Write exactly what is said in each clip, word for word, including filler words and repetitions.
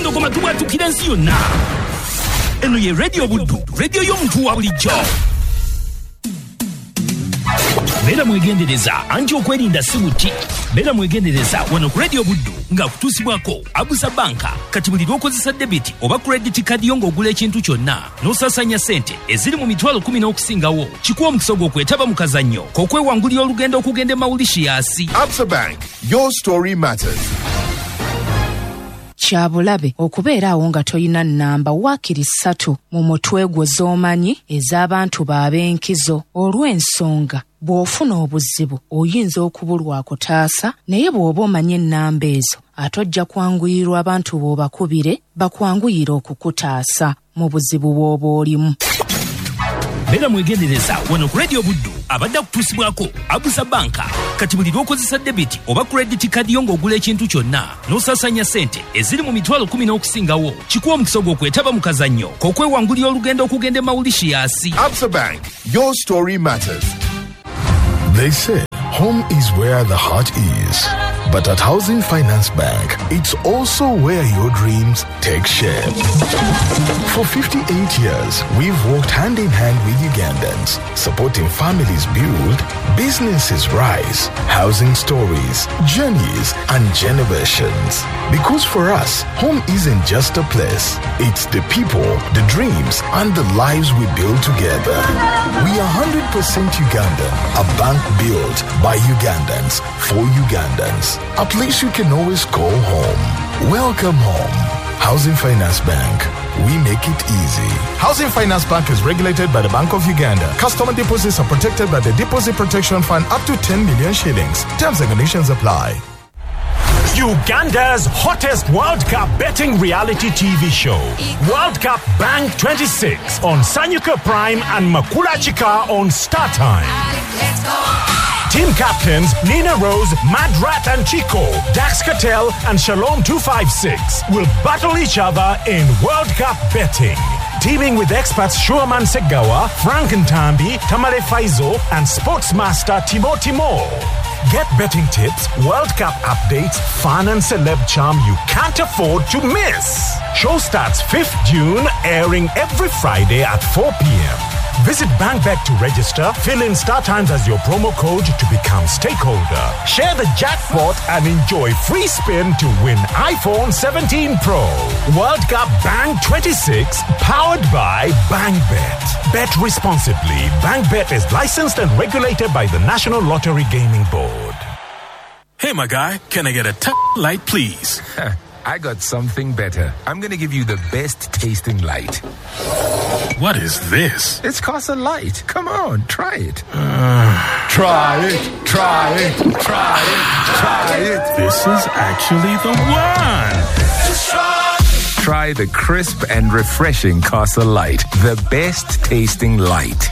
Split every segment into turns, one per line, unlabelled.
Empologoma tubwatukira ensi yonna. Eno ye Radio Buddu, radio y'omuntu wa bulijjo. Beera mwegendereza anti okwerinda si buti. Beera mwegendereza wano ku Radio Buddu nga kutuusibwako Absa Bank. Kati buli lw'okozesa debit oba credit card yo ng'ogula ekintu kyonna n'osaasaanya ssente eziri mu mitwalo kumi n'okusingawo, kikuwa omukisa ogw'okwetaba mu kazannyo k'okwewangulira olugendo okugenda e Mauritius.
Absa Bank, your story matters.
Kya bulabe okubeera awo nga toyina nnamba waakiri ssatu mu mutwe gwo z'omanyi ez'abantu b'ab'enkizo, olw'ensonga bw'ofuna obuzibu oyinza okubulwa akutaasa, naye bw'oba omanyi ennamba ezo ate ojja kwanguyirwa abantu b'obakubire bakwanguyire okukutaasa mu buzibu bw'oba olimu.
Beera mwegendereza wano ku Radio Buddu abadde akutuusibwako Absa Bank. Kati buli lw'okozesa debit oba credit card yo ng'ogula ekintu kyonna n'osaasaanya ssente eziri mu mitwalo kumi n'okusingawo, kikuwa omukisa ogw'okwetaba mu kazannyo k'okwewangulira olugendo okugenda e Mauritius.
Absa Bank, your story matters.
They say home is where the heart is. But at Housing Finance Bank, it's also where your dreams take shape. For fifty-eight years, we've worked hand in hand with Ugandans, supporting families build, businesses rise, housing stories, journeys, and generations. Because for us, home isn't just a place. It's the people, the dreams, and the lives we build together. We are one hundred percent Ugandan, a bank built by Ugandans, for Ugandans. A place you can always call home. Welcome home. Housing Finance Bank. We make it easy.
Housing Finance Bank is regulated by the Bank of Uganda. Customer deposits are protected by the Deposit Protection Fund up to ten million shillings. Terms and conditions apply.
Uganda's hottest World Cup betting reality T V show, World Cup Bank twenty-six on Sanyuka Prime and Makula Chika on Star Time.
Let's go.
Team captains Nina Rose, Mad Rat and Chico, Dax Cartel and Shalom two five six will battle each other in World Cup betting. Teaming with experts Shuaman Segawa, Frank Ntambi, Tamale Faizo and sportsmaster Timo Timo. Get betting tips, World Cup updates, fun and celeb charm you can't afford to miss. Show starts fifth June, airing every Friday at four p.m. Visit BankBet to register, fill in Star Times as your promo code to become stakeholder. Share the jackpot and enjoy free spin to win iPhone seventeen Pro. World Cup Bank twenty-six, powered by BankBet. Bet responsibly. BankBet is licensed and regulated by the National Lottery Gaming Board.
Hey, my guy, can I get a t- light, please?
I got something better. I'm gonna give you the best tasting light.
What is this?
It's Casa Light. Come on, try it.
Uh,
try it, try it, try it, try it.
This is actually the one.
Just try.
Try the crisp and refreshing Casa Light, the best tasting light.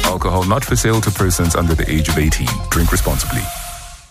Alcohol not for sale to persons under the age of eighteen. Drink responsibly.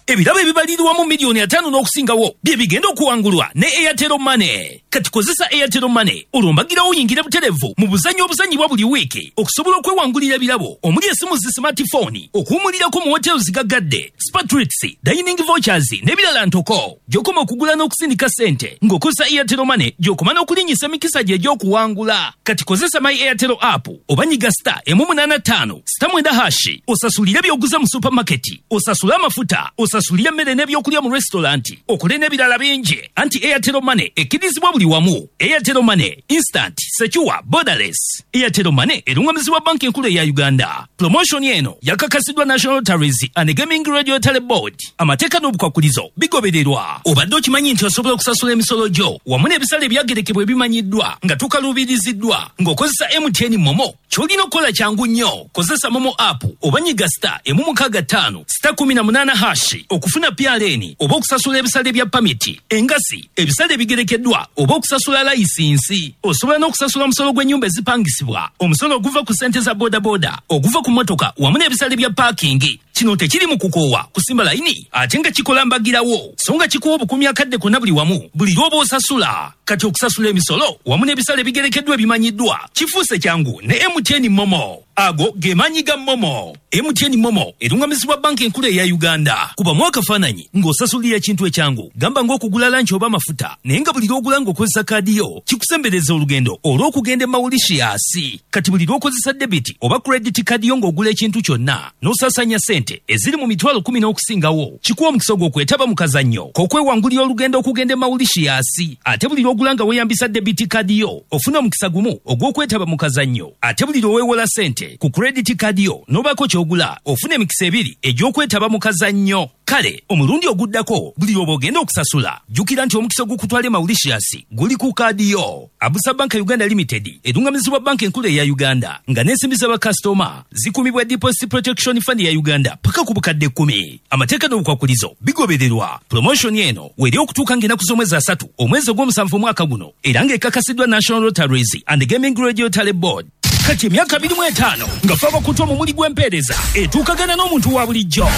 Ebirabo ebibalirwamu miliyoni ataano n'okusingawo bye bigenda okuwangulwa ne Airtel Money. Kati kozesa Airtel Money olwo mbagirawo oyingire butereevu mu buzannyo obuzannyibwa buli wiiki okusobola okwewangulira ebirabo omuli essimu zi smartphone, okuwumulirako mu hotels zigaggadde, spa treats, dining vouchers n'ebirala ntoko. Gy'okoma okugula n'okusindika ssente ng'okozesa Airtel Money, gy'okoma n'okulinnyisa emikisa gye egy'okuwangula. Kati kozesa My Airtel app oba nyiga star emu munaana ttaano star mwenda hashi osasulire by'oguze mu supermarket, osasule amafuta, osasulire emmere n'ebyokulya mu restaurant, okole n'ebirala bingi. Anti Airtel Money ekkirizibwa buli wamu. Airtel Money, instant, secure, borderless. Airtel Money erungamizibwa banki enkulu eya Uganda. Promotion eno yakakasiddwa National Lotteries and Gaming Regulatory Board. Amateeka n'obukwakulizo bigobererwa. Obadde okimanyi nti osobola okusasula emisolo gyo wamu n'ebisale ebyagerekebwa ebimanyiddwa nga tukaluubiriziddwa ng'okozesa M T N Momo? Ky'olina okukola kyangu nnyo. Kozesa Momo app oba nyiga star emu mukaaga ttaano star kumi na munaana hashi okufuna P R N oba okusasula ebisale bya pamiti, engasi, ebisale ebigerekeddwa oba okusasula layisinsi. Osobola n'okusasula omusolo gw'ennyumba ezipangisibwa, omusolo oguva ku ssente za bodaboda, oguva ku mmotoka wamu n'ebisale bya paakingi. Kino tekiri mu kukoowa kusimba layini ate nga kikola mbagirawo, so nga kikuwa obukumi akadde konna buli wamu buli lw'oba osasula. Kati okusasula emisolo wamu n'ebisale ebigerekeddwa ebimanyiddwa kifuuse kyangu ne M T N Momo. Ago ge maanyi ga MoMo. M T N MoMo erungamizibwa banki enkulu eya Uganda. Kubamu akafaananyi ng'osasulira ekintu ekyangu, gamba ng'okugula lanki oba amafuta, naye nga buli lw'ogula ng'okozesa kaadi yo kikusembereza olugendo olw'okugenda e Mauritius. Kati buli lw'okozesa debit oba credit card yo ng'ogula ekintu kyonna n'osaasaanya ssente eziri mu mitwalo kumi n'okusingawo, kikuwa omukisa ogw'okwetaba mu kazannyo k'okwewangulira olugendo okugenda e Mauritius. Ate buli lw'ogula nga weeyambisa debit card yo ofuna omukisa gumu ogw'okwetaba mu kazannyo. Ate buli lw'oweewola ssente ku credit card yo n'obaako ky'ogula ofuna emikisa ebiri egy'okwetaba mu kazannyo. Kale omulundi oguddako buli lw'oba ogenda okusasula jjukira nti omukisa ogukutwala e Mauritius guli ku kaadi yo. Abusa Bank Uganda Limited erungamizibwa banka enkulu eya Uganda nga n'ensimbi z'abakasitoma zikumibwa Deposit Protection Fund ya Uganda paka ku bukadde kkumi. Amateeka n'obukwakulizo bigobererwa. Promotion eno weri okutuuka ng'ennaku z'omwezi asatu omwezi ogw'omusanvu omwaka guno era ng'ekakasiddwa National Lotteries and Gaming Regulatory Board. Kati emyaka abiri mu etaano nga fe abakutwa mu muli gw'empeereza etuukagana n'omuntu wa bulijjo.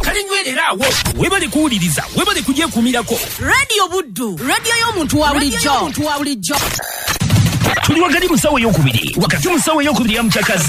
Kale nywerera awo, weebale kuwuliriza, weebale kugyekuumirako.
Radio Buddu, radio y'omuntu wa bulijjo.
Tuli wakati mu ssaawa ey'okubiri, wakati mu ssaawa ey'okubiri ya Mukyakaze.